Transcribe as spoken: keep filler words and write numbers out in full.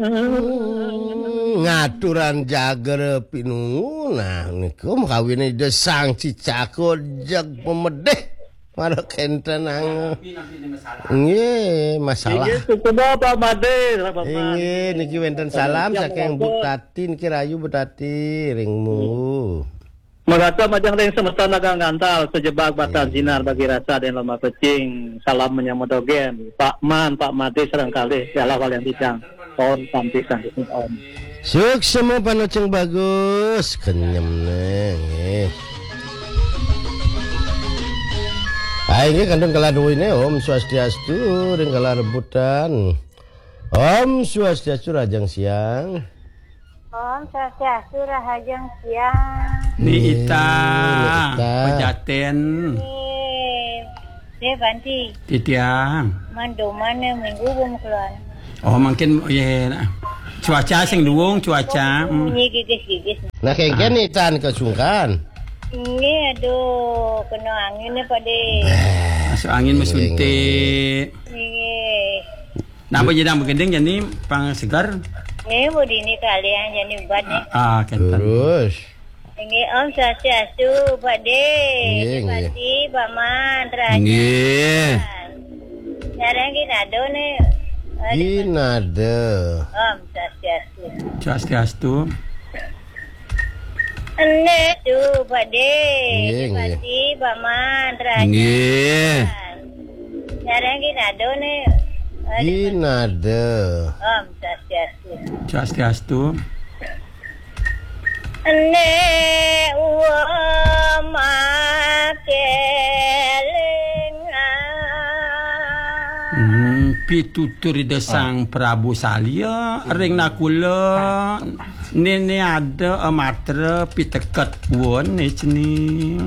Hmm, ngaturan jager pinungu. Nah, niku makawine Ida Sang Cicaka jeg pemedih. Mara kenten ang-, nggih, masalah. Inggih, suksma Pak Made, Pak Made. Inggih, niki wenten salam saking Bu Tati, niki rayu Bu Tati, ring Mungu. Magasa majeng ring semeton nagang gantal, sejebag batan sinar bagi rasa den lomba pecing. Salam menyambut dogen. Pak Man, Pak Made sareng kalih, ialah walian titiang. Om Santi Santi Om. Suksma panoceng bagus, kenyem neh, nggih. Ah, inggih kantun kala duwine, Om Swastiastu, ring kala rebutan. Om Swastiastu, rahajeng siang. Om Swastiastu, rahajeng siang. Ni Ita, Ni Ita. Pejaten. Ni, Deh Banti. Titiang. Mandoman minggu bum keluar. Oh, mungkin, ya, nah. Cuaca sing duwung, cuaca. Hmm. Bunyi gigis-gigis. Nah, kengken Ah. Ni tan kesungkan. Ini aduh, kena angin ni, Pak Deh. Masuk angin, Nggih, mesuntik. Nggih. Napa jedang begending jani pang segar? Nggih, Bu dini kalian jani ubat nih. Ah, ah, kenten. Terus. Nggih, Om Swastiastu, Pak Deh. Nggih, nggih. Pak Man, terakhir. Nggih. Sekarang gini ada nih. Ada. Gini ada. Om Swastiastu. Swastiastu. Ene tu, Pak Deh. Nggih, nggih. Pasti Pak Man terakhir. Nggih. Sekarang gini ada nih. Ada. Gini ada. Om Swastiastu. Swastiastu. Ene uwa makelingan. Hmm, pitutur Ida Sang Prabu Salya ring Nakula. Nene ada amatra piteket won ne cening.